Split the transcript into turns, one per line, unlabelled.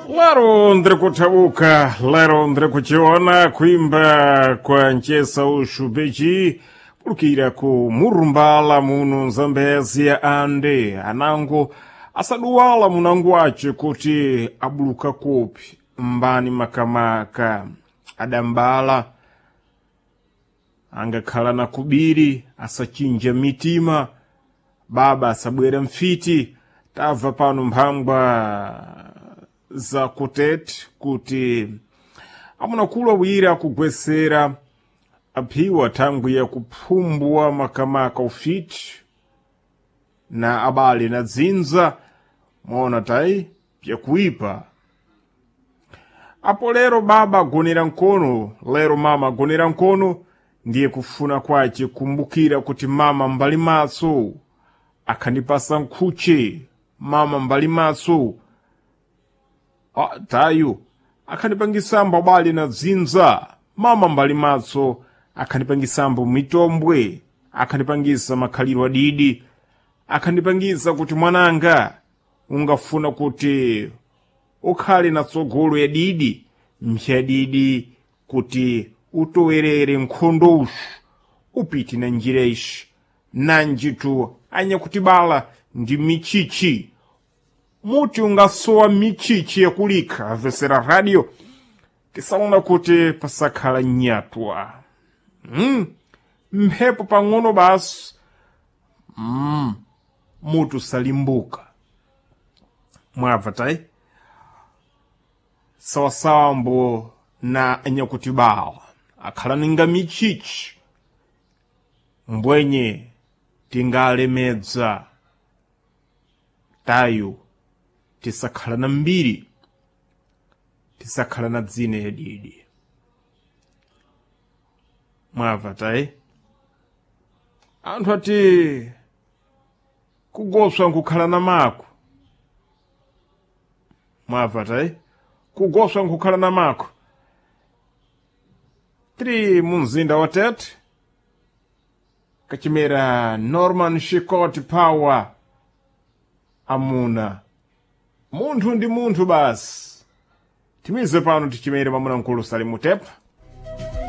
Lero ndiri kutauka, lero ndiri kuchiona kuimba kwa nchesa ushubeji pulukira ku murumbala muno Zambezia ande anango asaduwala munango wace kuti abuluka kopi mbani makamaka adambala angakhala na kubiri asachinja mitima baba asabwera mfiti tabva pano mphangwa za kutete kuti amunakulu awiri akugwesera aphiwa thangwi ya kuphumbwa makamaka ufiti na abale na dzinza mwaona tayi pyakuipa apo lero baba agonera mkono lero mama agonera mkono ndiye kufuna kwace kumbukira kuti mama mbali maso akhandipasa nkhuche mama mbali maso ah, tayu akhandipangisambo abale na dzinza mama mbali maso akhandipangisambo mitombwe akhandipangisa makhaliro adidi akhandipangisa kuti mwananga ungafuna kuti ukhale na tsogolo ya didi mphyadidi kuti utowerere nkhondo uxu upite na njira ixi nanjitu anyakutibala ndi michichi muti ungasowa michichi yakulikha amvesera radio tisaona kuti pasakhala nyatwa mphepo pang'ono basi mutu salimbuka mwabva tayi sawasawambo na anyakutibala akhala ninga michichi mbwenye tingalemedza tayo tisakhala na mbiri tisakhala na dzina yadidi mwabva tayi anthu ati kugoswa nkukhala na mako mwabva tayi kugoswa nkukhala na mako tiri mu mzinda wa Tete kachimera Norman Shikoti Power amuna munthu ndi munthu basi timize pano tichimere pamuna mkulu Salimu Tepa.